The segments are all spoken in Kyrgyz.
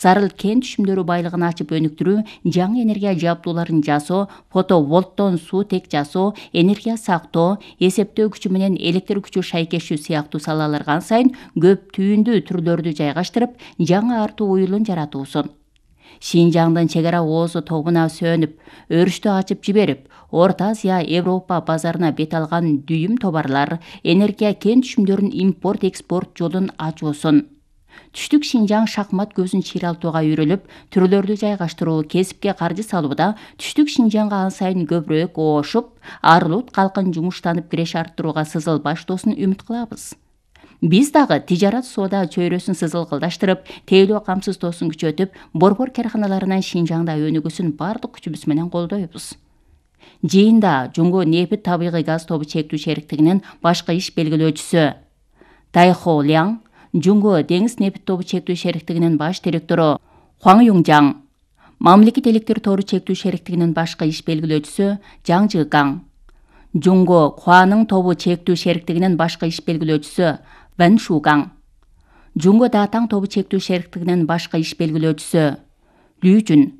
зарыл кен түшүмдөрү байлыгын ачып өнүктүрүү, жаңы энергия жабдууларын жасоо, фотоволттон суутек жасоо, энергия сактоо, эсептөө күчү менен электр күчү шайкештүү сыяктуу салаларга сайын көп түйүндүү түрлөрдү жайгаштырып, жаңы артуу уюлун жаратуусун. Шинжаңдын чек ара оозу тобуна сөнүп, өрүштү ачып жиберип, Орто Азия, Европа базарына бет алган дүйүм товарлар, энергия кен түшүмдөрүнүн импорт-экспорт жолун ачуусун. Түштүк Шинжаң шахмат көзүн чыйралтууга үйрөлүп, түрлөрдү жайгаштыруу, кесипке каржы салууда Түштүк Шинжаңга ан сайын көбүрөөк оошуп, Арлут калкын жумуштанып киреш арттырууга сызыл баштоосун үмүт кылабыз. Биз дагы тижарат соода чөйрөсүн сызыл кылдаштырып, тейлөө камсыздоосун күчөтүп, борбор карханаларынан Шинжаңда өнүгүүсүн бардык күчүбүз менен колдойбуз. Жыйында Жумго нефт табигый газ тобу чектүү шериктигинин башкы иш белгилөөчүсү Тайхо Ляң, Жумго деңиз нефт тобу чектүү шериктигинин баш директору Хуаң Юңжаң, Мамлекет электр тору чектүү шериктигинин башкы иш белгилөөчүсү Жаң Жыгаң, Жумго Хуанын тобу чектүү шериктигинин башкы иш белгилөөчүсү Вэн Шугаң, Жумго Датаң тобу чектүү шериктигинин башкы иш белгилөөчүсү Лю Жүн,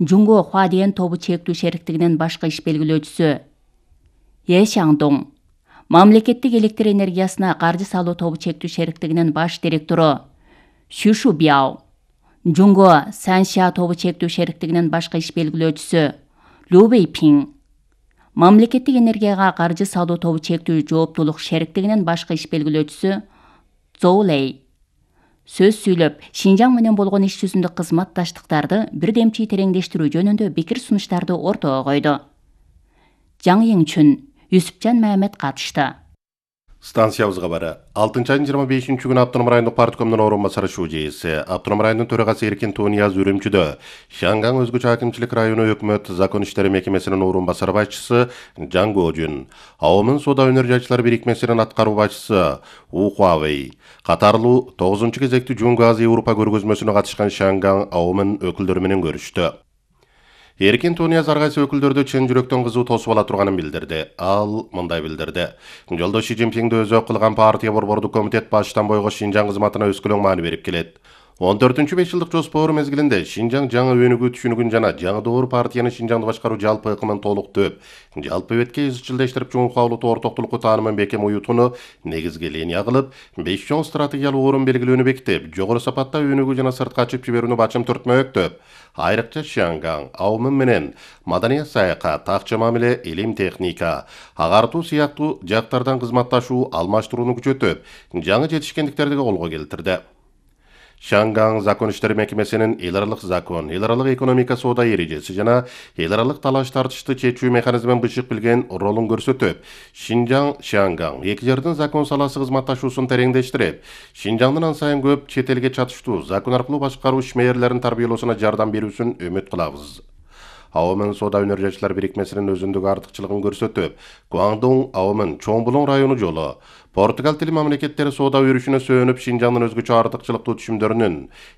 Жумго Хуадиен тобу чектүү шериктигинин башкы иш белгилөөчүсү Е Шаңдоң, Мамлекеттик электр энергиясына каржы салуу тобу чектүү шериктигинин баш директору Xu Shubyaо, Жумго Санша тобу чектүү шериктигинин башкы иш белгилөөчүсү Лю Вэйпиң, Мамлекеттик энергияга каржы салуу тобу чектүү жооптуулук шериктигинин башкы иш белгилөөчүсү Зоу Лэй сөз сүйлөп, Шинжаң менен болгон иш жүзүндө кызматташтыктарды бирдемчи тереңдештирүү жөнүндө пикир сунуштарды ортого койду. Жаң Йиңчүн, Юсупжан Мамед катышты. Станциябызга бары 6-айдын 25-күнү Автоном райондук парткомдун орун басары ШУЖС, Автоном районунун төрагасы Эркин Тунияз Үрүмчүдө, Шаңгаң өзгөчө акимчилик району өкмөт закон иштери мекемесинин орун басары башчысы Жаң Гожун, Аомун соода өнөр жайчылар бирикмесинин аткаруу башчысы У Хуавей катарлуу 9-кезектүү Жумго Азия Европа көргөзмөсүнө катышкан Шаңгаң Аомун өкүлдөрү менен көрүштү. Эркин Тунияз ар кайсы өкүлдөрдү чын жүрөктөн кызуу тосуп ала турганын билдирди. Ал мындай билдирди: Жолдош Си Цзиньпинди өзү кылган партия борбордук комитет баштан бойго Шинжаң кызматына өскөлөң маани берип келет. 14-5 жылдык жоспор мезгилинде Шинжаң жаңы өнүгүү түшүнүгүн жана жаңы доор партиянын Шинжаңды башкаруу жалпы ыкымын толуктоп, жалпы бетке изчилдештирип жумушка алуу ортоктулукку таанымын бекем уютууну негизги линия кылып, 5 чоң стратегиялык орун белгилөөнү бекитип, жогору сапатта өнүгүү жана сыртка ачып жиберүүнү бачым түртмөктөп, айрыкча Шаңгаң, Аомун менен маданият саякат, акча мамиле, илим техника, агартуу сыяктуу жактардан кызматташуу, алмаштырууну күчөтүп, жаңы жетишкендиктерди колго келтирди. Шаңгаң закон иштери мекемесинин эл аралык закон, эл аралык экономика соода эрежеси жана эл аралык талаш тартышты чечүү механизмин бышык билген ролун көрсөтүп, Шаңгаң эки жардын закон саласы кызматташуусун тереңдештирип, Шинжаңдын ан сайын көп чет элге чатыштуу закон аркылуу башкаруу ишмерлерин тарбиялоосуна жардам берүүсүн үмүт кылабыз. Аомун соода өнөр жайчылар бирикмесинин өзүндүк артыкчылыгын көрсөтүп, Гуаңдун Аомун Чоң Булуң району жолу, Португал тили мамлекеттери соода өрүшүнө сөөнүп, Шинжаңдын өзгөчө артыкчылыктуу түшүмдөрүнүн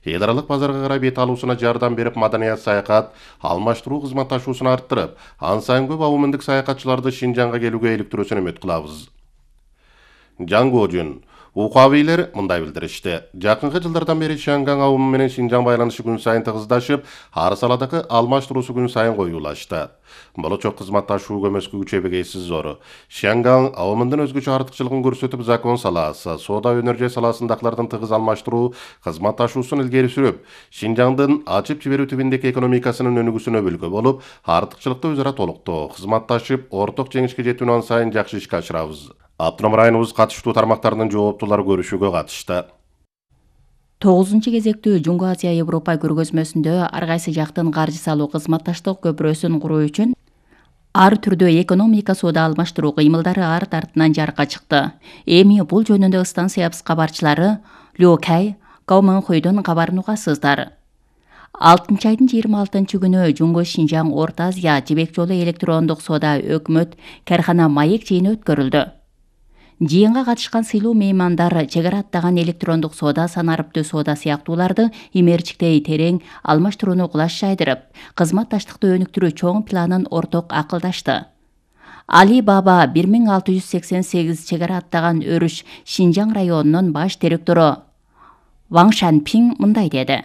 эл аралык базарга карай бет алуусуна жардам берип, маданият саякат, алмаштыруу кызматташуусун арттырып, ан сайын көп аомундук саякатчыларды Шинжаңга келүүгө иликтирүүсүн үмүт кылабыз. Жаң Гожун, Ухавейлер мындай билдиришти: Жакынкы жылдардан бери Шаңгаң Аомун менен Шинжаң байланышы күн сайын тыгыздашып, ар саладагы алмаштыруусу күн сайын коюулашты. Болочок кызматташуу көмөскү күчөбөгөйсүз зор. Шаңгаң Аомундун өзгөчө артыкчылыгын көрсөтүп, закон саласы, соода өнөр жай саласындагылардын тыгыз алмаштыруу кызматташуусун илгери сүрүп, Шинжаңдын ачып жиберүү тибиндеги экономикасынын өнүгүүсүнө бүлгө болуп, артыкчылыкты өзара толуктоо, кызматташып, орток жеңишке жетүүнү ан сайын жакшы ишке ашырабыз. Автоном районубуз катыштуу тармактардын жооптуулары көрүшүүгө катышты. 9-кезектүү Жумго Азия Европа көргөзмөсүндө ар кайсы жактын каржы салуу кызматташтык көпүрөсүн куруу үчүн ар түрдүү экономика соода алмаштыруу кыймылдары арт артынан жарыкка чыкты. Эми бул жөнүндө станциябыз кабарчылары Лю Кай, Каоманхойдон кабарын угасыздар. 6-айдын 26-күнү Жумго Шинжаң Орто Азия жибек жолу электрондук соода өкмөт кархана маек жыйыны өткөрүлдү. Жыйынга катышкан сыйлуу меймандар чек ара аттаган электрондук соода, санарыптуу соода сыяктууларды имерчиктей терең алмаштырууну кулаш жайдырып, кызматташтыкты өнүктүрүү чоң планын орток акылдашты. Али Баба 1688 чек ара аттаган өрүш Шинжаң районунун баш директору Ваң Шанпиң мындай деди: